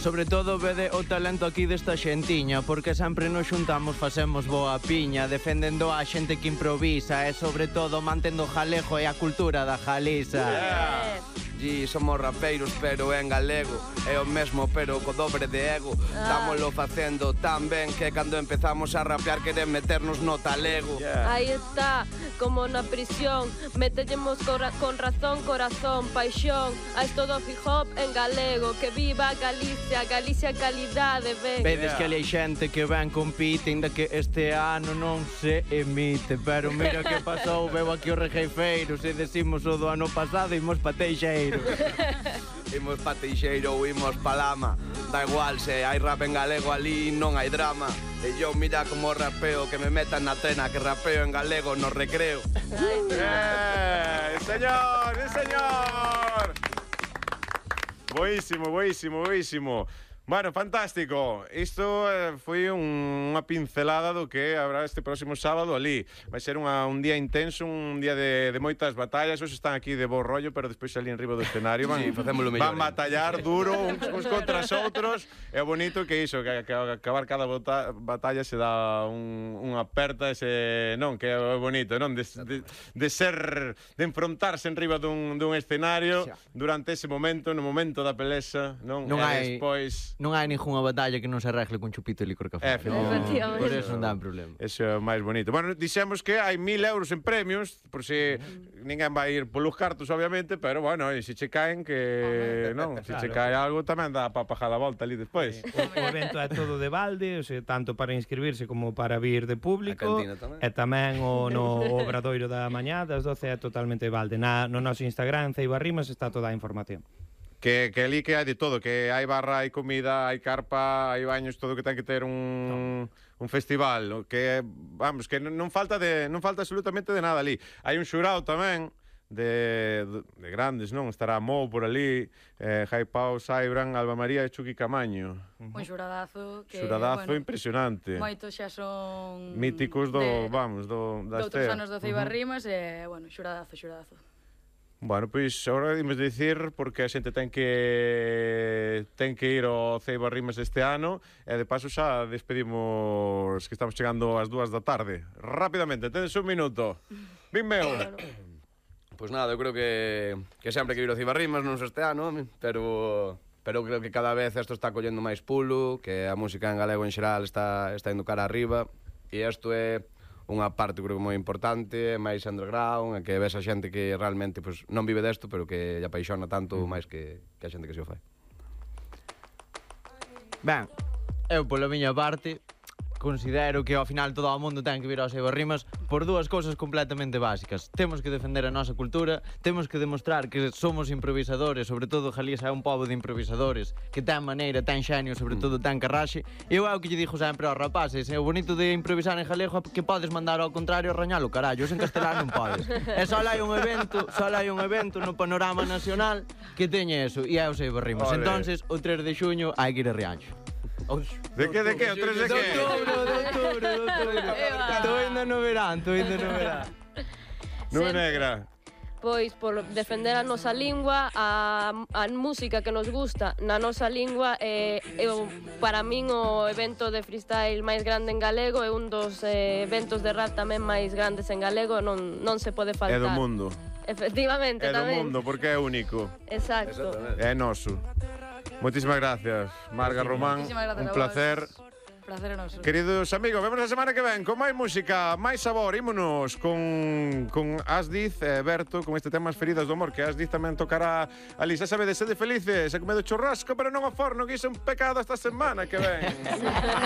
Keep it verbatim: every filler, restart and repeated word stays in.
Sobre todo vede o talento aquí desta xentiña, porque sempre nos xuntamos, facemos boa piña, defendendo a xente que improvisa e sobre todo mantendo o jalego e a cultura da Galiza. Yeah. E somos rapeiros, pero en galego. É o mesmo, pero co dobre de ego. Estámoslo facendo tan ben que cando empezamos a rapear queren meternos no talego. Yeah. Aí está, como na prisión, metellemos con razón, corazón, paixón. A esto do hip hop en galego. Que viva Galicia, Galicia calidade, ven. Vedes que ali hai xente que ven compite, ainda que este ano non se emite. Pero mira que pasou, veo aquí os rejeifeiros e decimos o do ano pasado imos pa Teixeiro. Imos pa Teixeiro ou imos pa Lama. Da igual, se hai rap en galego ali non hai drama. E yo mira como rapeo, que me metan na trena, que rapeo en galego no recreo. Eh, señor, sí señor. Boísimo, boísimo, boísimo. Bueno, fantástico. Isto eh, foi un, unha pincelada do que habrá este próximo sábado ali. Vai ser unha, un día intenso, un día de, de moitas batallas. Os están aquí de bo rollo, pero despois ali en riba do escenario van, sí, van batallar duro uns, uns contra os outros. É bonito que iso, que, que acabar cada bota, batalla se dá un, unha aperta ese, non, que é bonito, non? De, de, de ser, de enfrontarse en riba dun, dun escenario durante ese momento, no momento da pelesa, non? Non e hai... despois... Non hai ninguna batalla que non se arregle con chupito e licor café. Efectivamente. No, por eso non dá problema. Eso é o máis bonito. Bueno, dixemos que hai mil euros en premios, por si mm. ninguén vai ir polos cartos, obviamente, pero bueno, e se che caen que... non, se che cae algo tamén dá para pagar a volta ali despois. Sí. O, o evento é todo de balde, o sea, tanto para inscribirse como para vir de público. Tamén. E tamén o no obradoiro da mañá das doce é totalmente de balde. Na, no noso Instagram, Ceiba Rimas, está toda a información. Que, que ali que hai de todo, que hai barra, hai comida, hai carpa, hai baños, todo que ten que ter un, un festival, que vamos, que non falta de non falta absolutamente de nada ali. Hai un xurado tamén de, de, de grandes, non? Estará Mo por ali, eh, Jai Pau, Saibran, Alba María e Chucky Camaño. Un xuradazo que, xuradazo bueno, impresionante. Moitos xa son míticos do, de, vamos, do das outros anos do Ceiba uh -huh. Rimas e, bueno, xuradazo, xuradazo. Bueno, pois agora imos dicir porque a xente ten que ten que ir ao Ceiba Rimas este ano e de paso xa despedimos que estamos chegando ás dúas da tarde. Rápidamente, tedes un minuto. Vin meu. Pois nada, eu creo que que sempre que ir ao Ceiba Rimas non este ano, pero pero creo que cada vez isto está collendo máis pulo, que a música en galego en xeral está está indo cara arriba e isto é unha parte creo que moi importante, máis underground, que ves a xente que realmente pues, non vive desto, pero que lle apaixona tanto máis que, que a xente que se o fai. Ben, eu pola miña parte considero que ao final todo o mundo ten que vir ao Ceiba Rimas por dúas cousas completamente básicas. Temos que defender a nosa cultura, temos que demostrar que somos improvisadores, sobre todo Galiza é un pobo de improvisadores, que ten maneira, ten xenio, sobre todo ten carraxe. Eu é o que lle dixo sempre aos rapaces, é o bonito de improvisar en galego que podes mandar ao contrario rañalo, carallo, en castelán non podes. E só hai un evento, só hai un evento no panorama nacional que teñe eso, e é o Ceiba Rimas. Entonces, o tres de xuño hai que ir a Rianxo. De que, de que? O tres de que? De outubro, de outubro, de outubro. Estou indo no verán, estou indo no verán. Nube negra. Pois por defender a nosa lingua, a, a música que nos gusta na nosa lingua, é, é para min o evento de freestyle máis grande en galego, é un dos eh, eventos de rap tamén máis grandes en galego, non, non se pode faltar. É do mundo. Efectivamente, é tamén. É do mundo, porque é único. Exacto. É noso. Moitísimas gracias, Marga Román, un placer. Placer noso. Queridos amigos, vemos a semana que ven con máis música, máis sabor. Ímonos con, con Asdiz e Berto, con este tema As feridas do amor, que Asdiz tamén tocará ali. Xa sabedes, sede felices, e comedo churrasco, pero non ao forno, que iso é un pecado esta semana que ven.